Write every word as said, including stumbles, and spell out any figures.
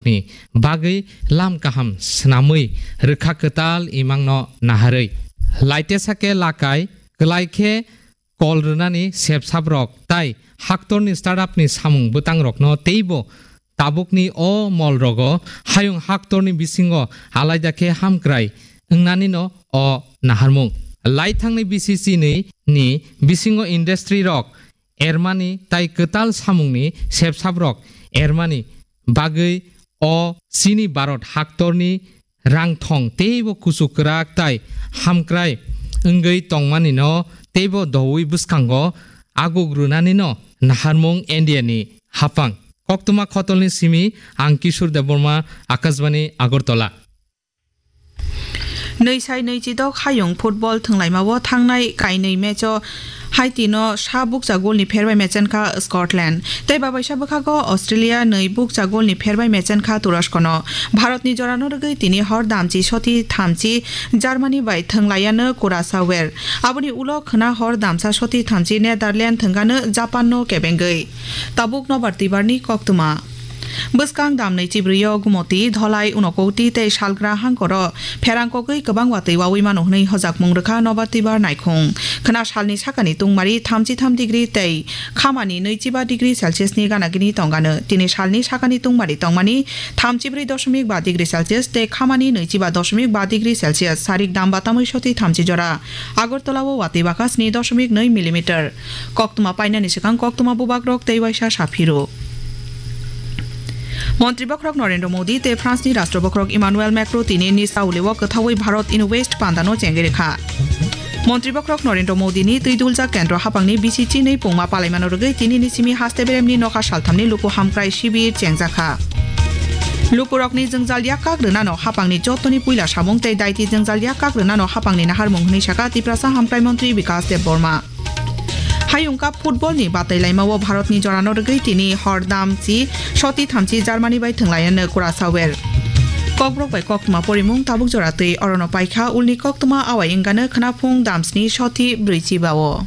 ni bagwi lam kaham swnamwi rwkha kwtal imangno naharwi. Laitesa khe lakai kwlai khe kol rwnani sepsaprok tai haktorni startup ni samung bwtangrokno teibo tabukni o mol rogo hayung haktorni bisingo alaida khe hamkrai wngnanino o naharmung. Laithangni B C C ni, ni bisingo industry rok ermani tai kwtal samungni sepsaprok ermani bagwi o chini Bharat haktorni rangthong teibo kuchuk kwrak tai hamkrai wngwi tongmanino teibo doui bwskango aguk rwnanino naharmung India ni hapang. Koktwma khotolni simi ang Kishore Debbarma, Akashbani Agartala. Nwi sai nwi chidok hayung football thwnglaimao thangnai kainwi match-o Haiti-no sa bukcha golni pherbai mechenkha Scotland. Tei babaisa bwkhago Australia nwi bukcha golni pherbai mechenkha Turosko-no. Bharatni jorano rwgwi tini hor damchi soti thamchi Germany bai thwnglaiano Curaçao-er. Aboni ulo khwna hor damsa soti thamchi Netherlands thwngano Japan-no kebengwi. Tabuk nobar twibarni koktwma. Bwskang damnwi chibrwi-o Gumoti, Dholai, Unokoti tei Salgra hangkoro pherang kogwi kwbang watwi wawi mano hwnwi hojakmung rwkha nobar twibar naikhung. Khwna salni sakani tungmari thamchi tham degree tei khamani nwichiba degree Celsius ni gana gini tongano. Tini salni sakani tungmari tongmani thamchi brwi doshomik ba degree Celsius tei khamani nwichiba doshomik ba degree Celsius. Sarik dam batamwi soti thamchi jora. Agartala-o watwi baka sni doshomik nwi millimeter. Koktwma painani swkang koktwma bubagrok tei waisa saphiro. Montri bokhorok Narendra Modi tei France-ni Rashtra bokhorok Emmanuel Macron tini Nice Auli-o kwthaui Bharat Invest pandano chengwi rwkha. Montri bokhorok Narendra Modi-ni twi duljak kendro hapangni bisi chinwi pungma palaimano rwgwi tinini simi haste beremni nokha salthamni luku hamkrai shibir chengjakha. Lukurokni jwngjal yakkak rwnano hapangni jottoni puila samung tei daiti jwngjal yakkak rwnano hapangni naharmung hwnwi sakha Tiprasa Hamkrai Montri Bikas Debbarma. Hayung Cup football ni batai laimao Bharatni jorano rwgwi tini hor damchi soti thamchi Germany bai thwnglaino Curaçao-er. Kokborok bai koktwma porimung tabuk jora twi orono paikha ulni koktwma awai wngano khwnaphung damsni soti brwichi bao.